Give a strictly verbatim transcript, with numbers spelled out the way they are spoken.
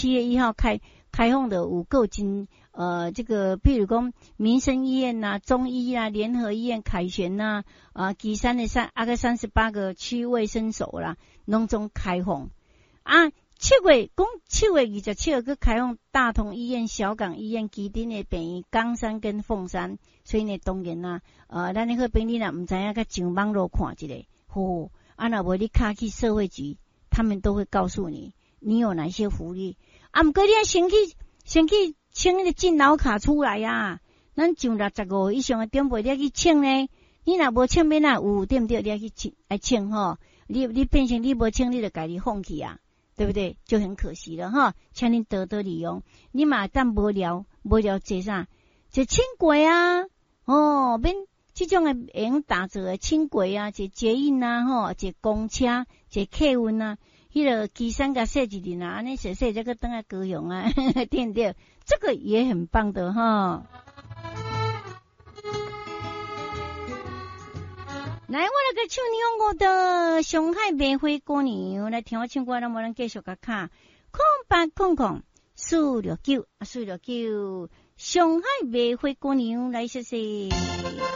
七月一號開開放的有夠真呃，這個譬如講民生醫院呐、中醫啊、聯合醫院、凱旋呐啊，旗山的三啊個三十八個區衛生所啦，攏總開放啊。七月講七月二十七號閣開放大同醫院、小港醫院、旗津的病院、岡山跟鳳山，所以呢，當然啦，呃，咱的好朋友若毋知影，閣上網路看一下，吼，啊，若無你敲去社會局，他們都會告訴你，你有哪些福利。啊，毋過你愛先去先去請彼個敬老卡出來啊！咱上六十五以上的長輩，你愛去請呢？你若無請，欲哪有，對毋對？你愛去請，愛請吼。你你變成你無請，你就家己放棄啊，對不對？就很可惜了哈。請恁多多利用，你嘛當無聊無聊坐啥？坐輕軌啊，哦，免這種的會用打坐的輕軌啊，坐捷運啊，吼，坐公車，坐客運啊，彼個旗山共踅一輪啊，按呢踅踅才閣轉來高雄啊，對毋對？這個也很棒的哈。來，我來閣唱兩個的上海梅花姑娘，來聽我唱歌，咱無咱繼續共敲空八空空四六九四六九，上海梅花姑娘來，謝謝。